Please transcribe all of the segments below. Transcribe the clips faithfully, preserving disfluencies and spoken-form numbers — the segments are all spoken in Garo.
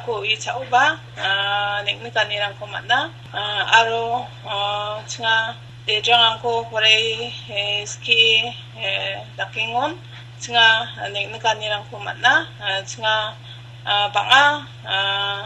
Ko uichaoba, ah, neng·nikanirangko man·a, ah, aro, ah, chinga dedrangko porai, eh, skie, eh, dakengon, chinga neng·nikanirangko man·a, ah, chinga, ah, bang·a, ah,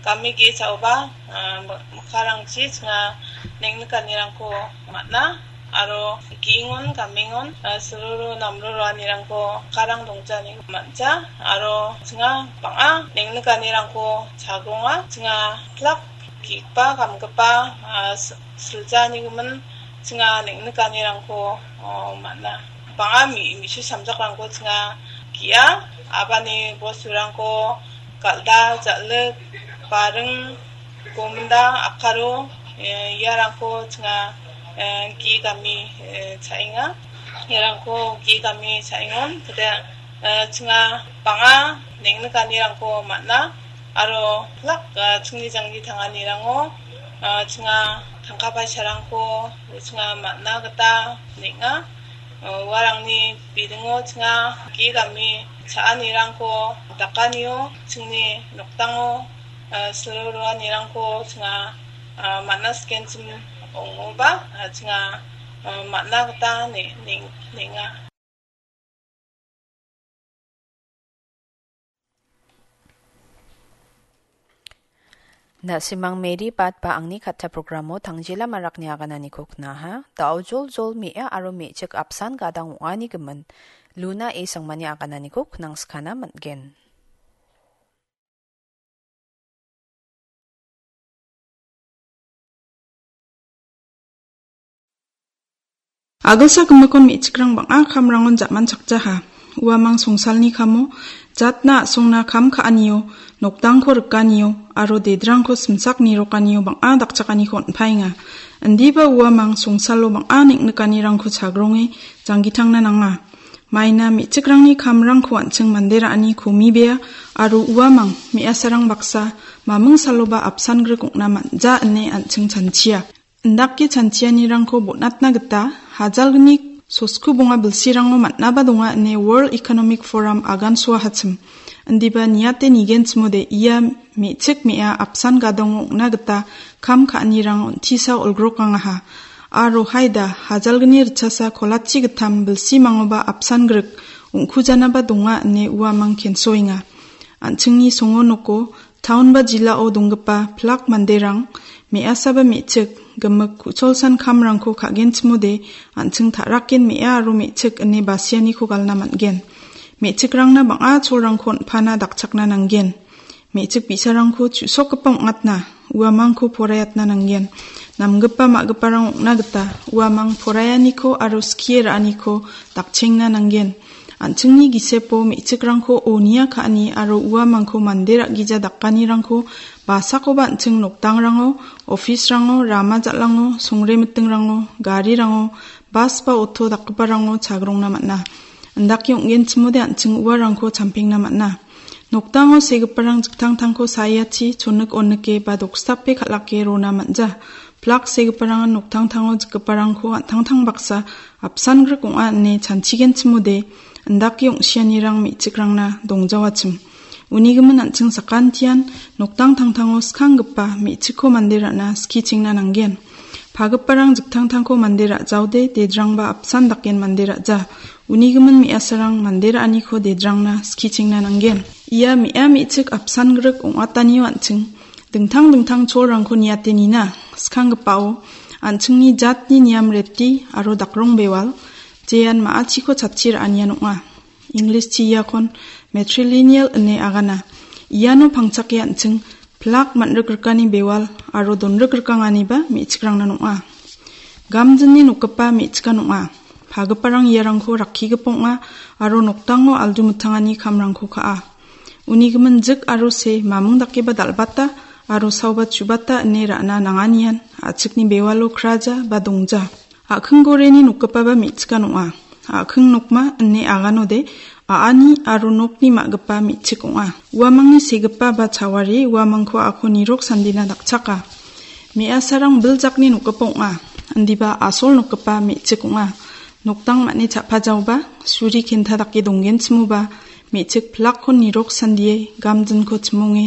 gami ge·saoba, ah, mik-, mikkarangchi chinga neng·nikanirangko man·a. Aro ge·engon, gamengon, ah, silruru namru roanirangko karang dongjaniko man·ja. Aro chinga bang·a neng·nikanirangko chagronga. Chinga plak ge·gipa, gamgipa, ah, s-, siljanikomin chinga neng·nikanirangko, oh, man·a. Bang·a mi-, misu samjakrangko chinga ge·a. Abani bosturangko galda, jal·ik, baring, gominda, akaro, eh, iarangko chinga, eh, ge·gami, eh, cha·enga. Iarangko ge·gami cha·engon. Kede, eh, chinga bang·a neng·nikanirangko man·a. Aro plak, eh, chingni jangni tanganirango, eh, chinga tangka paisarangko chinga man·na gita neng·a. Eh, uarangni bidingo chinga ge·gami cha·anirangko dakanio chingni nokdango, ah, silo roanirangko chinga, ah, man·a sikenchim ong·oba, ah, chinga, ah, man·a gita ne-, neng-, nenga. Na·simang Mary Bat ba angni katta programo tangjela marakni agananiko knaha. Da·o joljol me·a aro me·chik apsan gadang ong·ani gimin Luna A Sangmani agananiko knangskana man·gen. Agilsa gimikon me·chikrang bang·a kamrangon ja·manchakjaha. Uamang songsalni kamo, jatna a·songna kam ka·anio, nokdangko rikanio, aro dedrangko simsak nirokanio bang·a dakchakaniko on·paenga. Indiba uamang songsalo bang·a neng·nikanirangko chagronge janggitangna nanga. Maina me·chikrangni kamrangko an·ching mande ra·ani komibea, aro uamang me·asarang baksa maming saloba apsan grik ong·na man·ja ine an·ching chanchia. Indake chanchianirangko bon·atna gita hajalgni sosku bonga bilsirango man·aba donga ine World Economic Forum agansoahachim. Indiba niate nigenchimode ia me·chik me·a apsan gadongo ong·na gita kam ka·anirang on·tisa olgrokangaha. Aro haida hajalgni ritchasa kolachi gittam bilsimangoba apsan grik ong·kujanaba donga ine uamang kensoenga. An·chingni songo noko taon ba jilao donggipa pilak manderang me·asaba me·chik gimik ku·cholsan kamrangko ka·genchimode an·ching ta·raken me·a aro me·chik ine basianiko galna man·gen. Me·chikrangna bang·a cholrangko on·pana dakchakna nanggen. Me·chik bi·sarangko chu·sokgipa ong·atna, uamangko poraiatna nanggen. Namgipa ma·giparang ong·na gita uamang poraianiko aro skie ra·aniko dakchengna nanggen. An·chingni gisepo me·chikrangko onia ka·ani aro uamangko mande ra·gija dakanirangko basakoba an·ching nokdangrango, office-rango, rama jal·ango, songremitingrango, garirango, bas ba oto dakgiparango chagrongna man·a. Indake ong·genchimode an·ching uarangko champengna man·a. Nokdango segiparang jiktangtangko saiachi chonik onike ba dokstape kal·ake rona man·ja. Pilak segiparangan noktangtango jikgiparangko an·tangtang baksa apsan grik ong·a ine chanchigenchimode, indake ong·sianirang me·chikrangna dongjawachim. Unigimin an·ching sakantian noktangtangtango skanggipa me·chikko mande ra·na skichengna nanggen. Pagiparang jiktangtangko mande ra·jaode dedrangba apsan daken mande ra·ja. Unigimin me·asarang mande ra·aniko dedrangna skichengna nanggen. Ia me·a me·chik apsan grik ong·atanio an·ching dingtang dingtang cholrangko niate nina. Skanggipao an·chingni jatni niam reti aro dakrong bewal, jean ma·achiko chatchi ra·anian ong·a. English-chi iakon matrilineal ine agana. Iano pangchake an·ching pilak man·rikrikani bewal aro donrikrikanganiba me·chikrangna ong·a. Gamjinni nokgipa me·chikan ong·a. Pagiparang iarangko rakkigipa ong·a aro nokdango aldu mitangani kamrangko ka·a. Unigimin jik aro se mamung dakeba dal·bata aro saoba chubata ine ra·na nanganian a·chikni bewalo kraja ba dongja. A·khing goreni nokgipaba me·chikan ong·a. A·khing nokma ine aganode a·ani aro nokni ma·gipa me·chik ong·a. Uamangni segipa ba chawari uamangko a·ako nirok sandina dakchaka. Me·asarang biljakni nokgipa ong·a. Indiba asol nokgipa me·chik ong·a. Nokdang man·e cha·pajaoba, suri kenta dake donggenchimoba, me·chik pilakkon nirok sandie gamjinko chimonge